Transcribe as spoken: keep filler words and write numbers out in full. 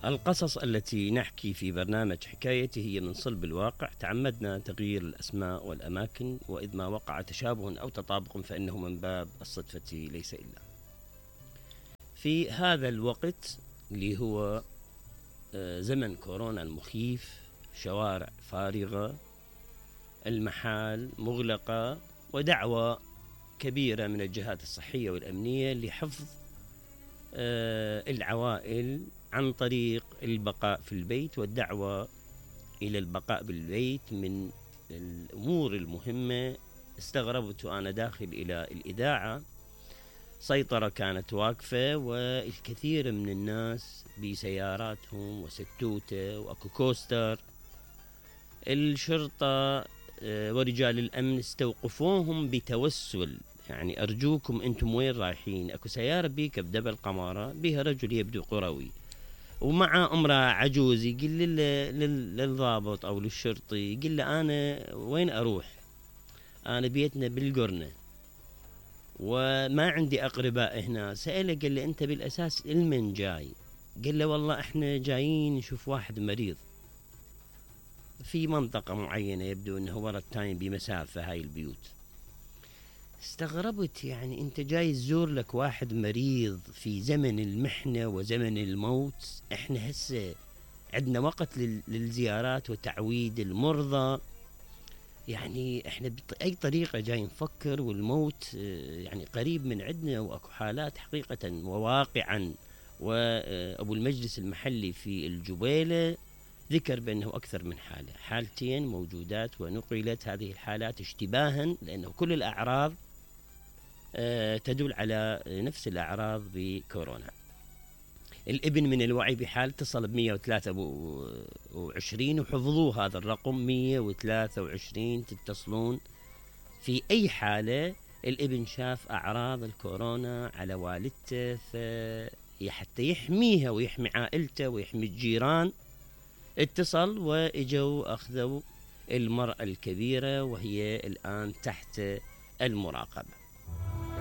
القصص التي نحكي في برنامج حكايتي هي من صلب الواقع، تعمدنا تغيير الأسماء والأماكن، وإذ ما وقع تشابه أو تطابق فإنه من باب الصدفة ليس إلا. في هذا الوقت اللي هو زمن كورونا المخيف، شوارع فارغة، المحال مغلقة، ودعوة كبيرة من الجهات الصحية والأمنية لحفظ العوائل عن طريق البقاء في البيت، والدعوة إلى البقاء بالبيت من الأمور المهمة. استغربت وأنا داخل إلى الإذاعة، سيطرة كانت واقفة والكثير من الناس بسياراتهم وستوتة وأكو كوستر. الشرطة ورجال الأمن استوقفوهم بتوسل، يعني أرجوكم أنتم وين رايحين؟ أكو سيارة بيك بدبل قمارة بها رجل يبدو قروي ومع امرأة عجوز، يقول للضابط أو للشرطي، يقول له أنا وين أروح؟ أنا بيتنا بالقرنة وما عندي أقرباء هنا. سأله قال له أنت بالأساس المن جاي؟ قال له والله إحنا جايين نشوف واحد مريض في منطقة معينة، يبدو أنه ورا التايم بمسافة هاي البيوت. استغربت، يعني أنت جاي تزور لك واحد مريض في زمن المحنة وزمن الموت؟ إحنا هسه عندنا وقت للزيارات وتعويد المرضى، يعني إحنا بأي طريقة جاي نفكر والموت يعني قريب من عندنا، وأكو حالات حقيقة وواقعا. وأبو المجلس المحلي في الجبيلة ذكر بأنه أكثر من حالة، حالتين موجودات، ونقلت هذه الحالات اشتباها لأنه كل الأعراض تدل على نفس الأعراض بكورونا. الابن من الوعي بحال اتصل ب مئة وثلاثة وعشرين وحفظوا هذا الرقم مئة وثلاثة وعشرين، تتصلون في أي حالة الابن شاف أعراض الكورونا على والدته، فحتى يحميها ويحمي عائلته ويحمي الجيران اتصل واجوا أخذوا المرأة الكبيرة وهي الآن تحت المراقبة.